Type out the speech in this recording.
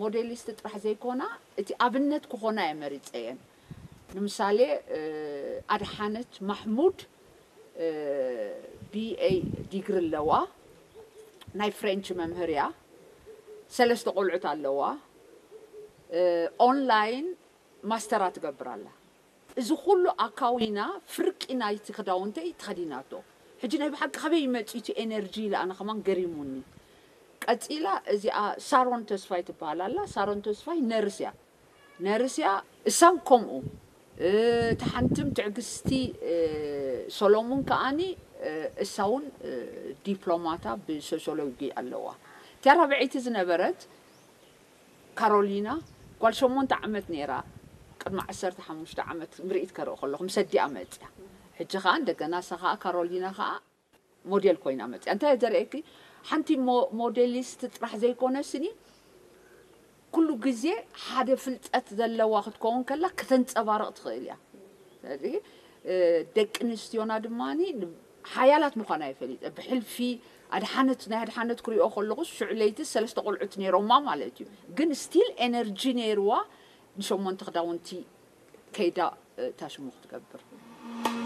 ሞዴሊስት ጥራሕ ዘይኮና እቲ ኣብነት ክኾና እየ መሪፀየን። ንምሳሌ ኣድሓነት ማሕሙድ ቢኤ ዲግሪ ኣለዋ። ናይ ፍሬንች መምህር እያ። ሰለስተ ቆልዑት ኣለዋ። ኦንላይን ማስተራ ትገብር ኣላ። እዚ ኩሉ ኣካዊና ፍርቂ ናይቲ ክዳውንተይ ተኸዲናቶ። ሕጂ ናይ ብሓቂ ከበይ መፂኡ እቲ ኤነርጂ ኢለ ኣነ ከማን ገሪሙኒ። ቀፂላ እዚኣ ሳሮን ተስፋይ ትበሃል ኣላ። ሳሮን ተስፋይ ነርስ እያ። ነርስ እያ። እሳን ከምኡ እታ ሓንትም ትዕግስቲ ሰሎሙን ከዓኒ እሳ እውን ዲፕሎማታ ብሶሲዮሎጂ ኣለዋ። እቲያ ራብዐይቲ ዝነበረት ካሮሊና ጓል ሸሞንተ ዓመት ነይራ። ቅድሚ ዓሰርተ ሓሙሽተ ዓመት ምርኢት ከርኢ ከለኹ ምስ ኣዲኣ መፅያ። ሕጂ ከዓ እንደገና እሳ ከዓ ካሮሊና ከዓ ሞዴል ኮይና መፅያ። እንታይ እየ ዘርእየኪ? ሓንቲ ሞዴሊስት ጥራሕ ዘይኮነ ስኒ ኩሉ ግዜ ሓደ ፍልጠት ዘለዋ ክትከውን ከላ ከተንፀባርቕ ትኽእል እያ። ስለዚ ደቂ ኣንስትዮና ድማ ሓያላት ምዃና ይፈሊጠ። ብሕልፊ ኣድሓነት ናይ ኣድሓነት ክሪኦ ከለኹ ሽዑ ለይቲ ሰለስተ ቆልዑት ነይሮማ ማለት እዩ። ግን ስቲል ኤነርጂ ነይርዋ። ንሸሞንተ ክዳውንቲ ከይዳ ታሽሙ ክትገብር።